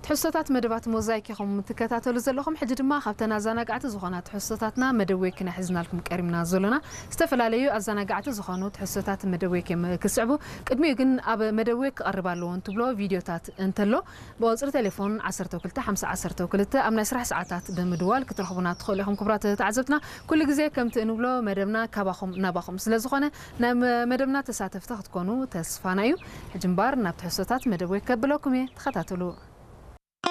ትሕዝቶታት መደባት ሞዛይክ ኢኹም ትከታተሉ ዘለኹም። ሕጂ ድማ ካብተን ኣዘናጋዕቲ ዝኾና ትሕዝቶታትና መደብ ወይክ ኢና ሒዝናልኩም ቀሪብና ዘሎና። ዝተፈላለዩ ኣዘናጋዕቲ ዝኾኑ ትሕዝቶታት መደብ ወይክ እዮም ክስዕቡ። ቅድሚኡ ግን ኣብ መደብ ወይክ ክቐርብ ኣለዎ እንትብሎ ቪድዮታት እንተሎ ብቁጽሪ ቴሌፎን ዓሰርተ ክልተ ሓምሳ ዓሰርተ ክልተ ኣብ ናይ ስራሕ ሰዓታት ብምድዋል ክትረኽቡና ትኽእሉ ኢኹም። ክቡራት ተዓዘብትና፣ ኩሉ ግዜ ከምቲ እንብሎ መደብና ካባኹም ናባኹም ስለ ዝኾነ ናይ መ- መደብና ተሳተፍቲ ክትኮኑ ተስፋና እዩ። ሕጂ እምበር ናብ ትሕዝቶታት መደብ ወይክ ከብለኩም እየ። ተኸታተሉ።